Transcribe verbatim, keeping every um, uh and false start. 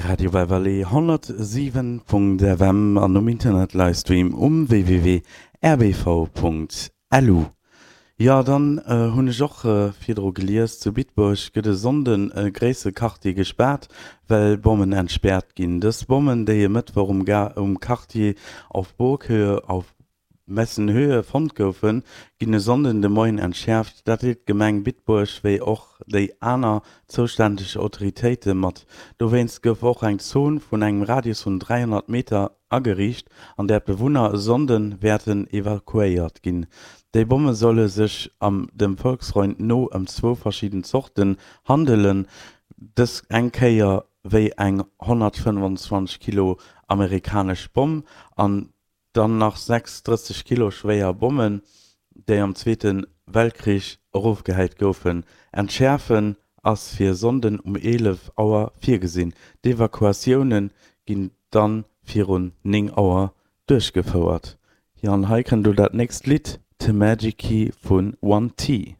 Radio Beverly honnertsiwen Punkt F M an um Internet Livestream um W W W Punkt R B V Punkt L U. Jo, dann hunn ech och virdru gelies, zu Bitburg gëtt e Sonnden e gréissere Quartier gespaart, well Bommen entspäert ginn. Dës Bommen, déi e Mëttwoch um um Quartier Auf Burghöhe auf Messenhöhe fonnt goufen, ginn e Sonnden de Moien entschäerft. Dat deelt d'Gemeng Bitburg wéi och déi aner zoustänneg Autoritéite mat. Dowéinst gouf och eng Zon vun engem Radius vun dräihonnert Meter ageriicht, an där d'Bewunner e Sonnde wäerten evakuéiert ginn. Déi Bomme solle sech dem Volksfreund no ëm zwou verschidden Zorten handelen, dës eng Kéier wéi eng honnertfënnefanzwanzeg Kilo amerikanesch Bomm an dann nach sechs drësseg Kilo schwéier Bommen, déi am Zweete Weltkrich erofgehäit goufen. Entschäerfen ass fir e Sonnden um eelef Auer virgesinn, d'Evakuatioune ginn da virun néng Auer duerchgefouert. Jo, an hei kënnt elo dat nächst Lidd, The Magic Key vu One T.